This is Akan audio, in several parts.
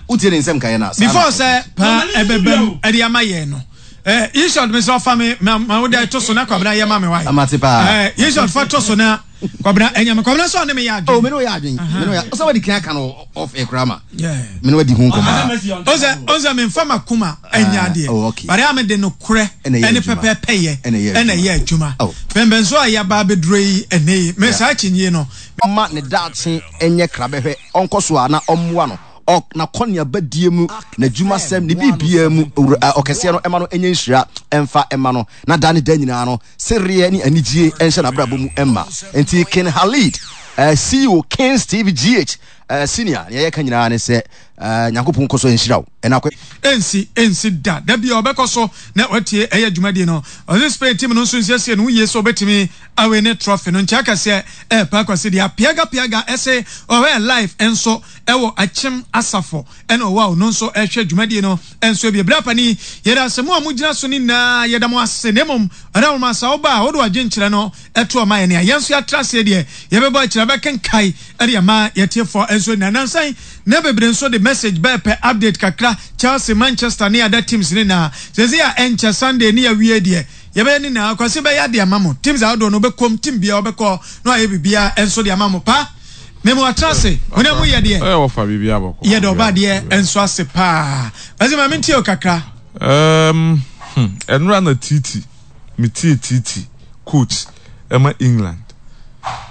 Wotie ne nsɛm nkaeɛ no a, saa na Before sɛ paa ɛbɛbam ɛde ama yɛn no eh, Yishot mesrɛ fa me ma ma wode to so na Kwabena yɛ ma me wae. Amate paa. Eh, Yishot fa to so na Kwabena ɛnyɛ me. Kwabena sɛ ɔne me yɛ adwene. Oh, me ne wo yɛ adwene. Me ne wo yɛ ɔsɛ wadi kan aka no off air koraa ma. Yeah. Me ne wadi ho nkɔmmɔ. Ɔsɛ ɔsɛ me nfa makoma ɛnyɛ adeɛ. Oh, okay. Bare a me de nokorɛ Ɛna ɛyɛ ɛne adwuma. pɛpɛɛpɛyɛ Ɛna ɛyɛ ɛna adwuma. ɛyɛ adwuma. Oh. Pɛmpɛnso a yɛaba abɛduro yi ɛnɛ yi me Yeah. saa akyinnye no. Ɔmma ne daakye nyɛ krabɛhwɛ, ɔnkɔ so a na ɔmmoa no, ɔ, n'akɔneabadie mu, n'adwumasɛm, ne biribiara mu, Owura, ɛ, Ɔkɛseɛ no mma no nyɛ nhyira mfa mma no, na daa ne daa nyinaa no, sereɛ ne anigyie nhyɛ n'abrabɔ mu mma. Enti King Khalid, ɛ, CEO Kings TV GH, ɛ, Senior, nea yɛka nyinaa ne sɛ, ɛ, Nyankopɔn nkɔ so nhyira wo. Ɛna akɔ. Ɛnsi, ɛnsi da. Da biara ɔbɛkɔ so na watie ɛyɛ dwumadie no. Ɔse Spain team no nso nsiesie ne ho yie sɛ ɔbɛtumi awine trophy no. Nkyɛ akɛseɛ ɛɛpa Kwasi deɛ apiaga piaga ɛse ɔhwɛ live nso ɛwɔ Akyem Asafo ɛna ɔwɔ a ɔno nso ɛhwɛ dwumadie no nso ebie. Bra panin, yɛda ase mo a mo gyina so no nyinaa yɛda mo ase na mmom ɔda nwoma asa woba a wode w'adwenkyerɛ no ɛto ɔma yɛn a yɛn nso yɛatra aseɛ deɛ yɛbɛbɔ akyire abɛkenkae ɛde ama yɛtiefoɔ nso nyinaa. Nansa yi na bebree nso de message bɛɛpɛ update kakra Chelsea, Manchester ne other teams no nyinaa. Seesei a ɛnkyɛ Sunday ne yɛawie deɛ yɛbɛyɛ ne nyinaa Kwasi bɛyɛ ade ama mo. Teams ahodoɔ no wobɛkɔm, team biara wobɛkɔ na wayɛ biribiara nso de ama mo. Pa me mo atra ase, mo ne mo yɛ deɛ yɛda ɔba adeɛ nso ase paa. Kwasi ma mentie o kakra. Um, hmm, ɛnora na Titi Metie Titi coach ɛma England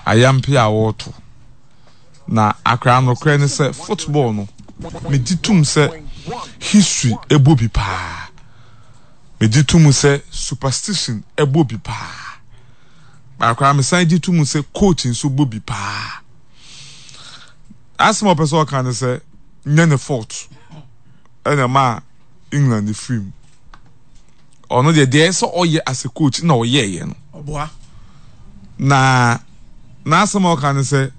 ayampe a wɔreto na akra nokorɛ ne sɛ football no megye tom sɛ history ɛbɔ bi paa megye tom sɛ superstition ɛbɔ bi paa akra mesan gye tom sɛ coach nso bɔ bi paa asɛm a ɔpɛ sɛ ɔka ne sɛ nyɛ ne fault ɛna ɛma England firi mu. Ɔno deɛ deɛ ɛsɛ ɔyɛ as a coach na ɔyɛɛyɛ no. Ɔboa. Na n'asɛm a ɔka ne sɛ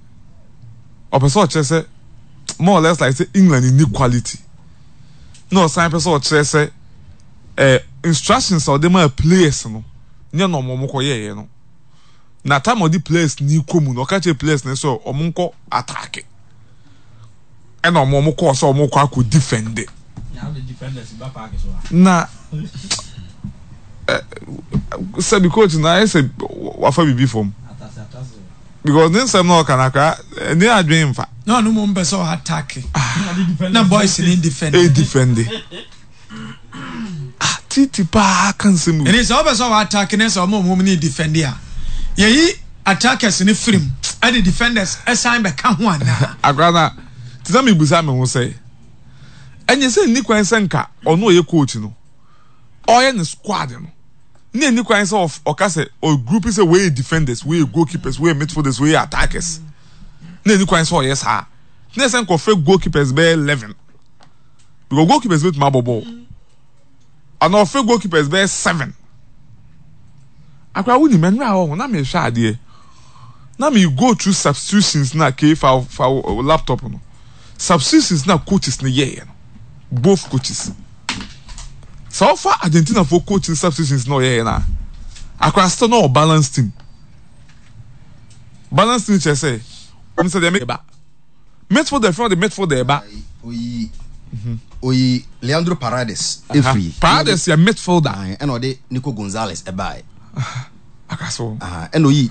ɔpɛ sɛ ɔkyerɛ sɛ more or less like sɛ England nni quality. Na ɔsan pɛ sɛ ɔkyerɛ sɛ eh, instructions a ɔde maa players no nyɛ na ɔmo ɔmo kɔ yɛɛyɛ no. Na time a ɔde players ni kɔ mu no ɔka kyerɛ players no sɛ ɔmo nkɔ attack. Ɛna ɔmo ɔmo kɔɔ sɛ ɔmo kɔ akɔ defend. Na sɛbi coach na ayɛ sɛ wafa biribi fam because ne nsɛm na ɔka no akra ɛne adwene nfa. Na ɔno mmom pɛ sɛ ɔatake na boys ne defend. E defend. Ah titi paa ka nsɛm. Ɛne sɛ ɔpɛ sɛ ɔatake ne sɛ ɔmo ɔmo ne defend a yɛyi attackers ne firim ɛde defenders ɛsan bɛka ho anaa. Akra na te sɛ mebusa me ho sɛ ɛnyɛ sɛ nni kwan sɛ nka ɔno ɔyɛ coach no ɔyɛ ne squad no ne nni kwan sɛ ɔka sɛ ɔgroup sɛ wei yɛ defenders wei yɛ goalkeepers wei yɛ midfielders wei yɛ attackers ne nni kwan sɛ ɔyɛ saa ne sɛ nkɔfrɛ goalkeepers bɛyɛ 11 because goalkeepers bɛtumi abɔ bɔɔl ana ɔfrɛ goalkeepers bɛyɛ 7 akora wonim ɛnora hɔ na mehwɛ adeɛ na me go through substitutions na kei fa fa laptop no substitutions na coaches no yɛeɛ no both coaches sɛ ɔfa Argentina fo coach no substitutions na ɔyɛeɛ no a akora still na ɔ balance team balance team kyerɛ sɛ ɔmo sɛ deɛ meba midfielder fɛn ɔde midfielder ɛba oyi oyi Leandro Paredes efiri Paredes yɛ midfielder ɛna ɔde Nico Gonzalez ɛbaeɛ akaso ɛna oyi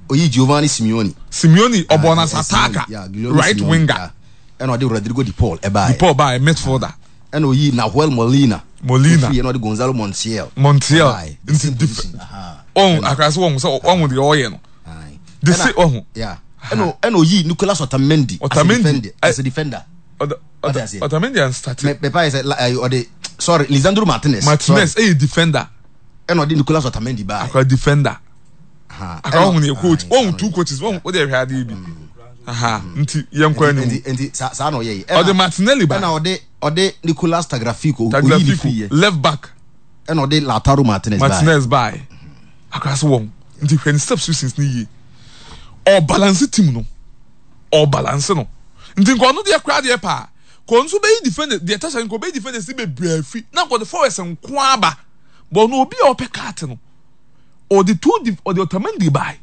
oyi Giovanni Simeone Simeone ɔbɔ na attacker right winger ɛna ɔde Rodrigo de Paul ɛbaeɛ de Paul baeɛ midfielder ɛna oyi Nahuel Molina Molina efiri ɛna ɔde Gonzalo Montiel Montiel nti dif ɔn akaso wɔn sɛ ɔn deɛ ɔyɛ no de se ɔho ɛna ɛna oyi Nicolas Otamendi Otamendi as a defender Otamendi and started mɛ pa yɛ sɛ ɔde sorry Lisandro Martinez Martinez ɛyɛ defender ɛna ɔde Nicolas Otamendi baa akora defender akora ɔhun yɛ coach ɔhun two coaches ɔhun ɔde ɛhwɛ adeɛ bi aha nti yɛn kɔ anim nti saa na ɔyɛ yi ɔde Martinelli ba ɛna ɔde ɔde Nicolas Tagliafico Tagliafico left back ɛna ɔde Lautaro Martinez baa Martinez baa akora so wɔn nti hwɛ ne substitutions ne yie ɔbalance team no ɔbalance no nti nka ɔno deɛ koraa deɛ paa kò nso bɛyi defender deɛ tasa nka ɔbɛyi defenders ne bebree afi na nka ɔde forwards nko aba bɔn no obi a ɔpɛ card no ɔde two ɔde Otamendi bae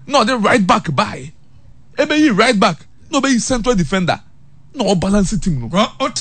na ɔde right back bae ebeyi right back na ɔbɛyi central defender. Na ɔbalance team no. Wote.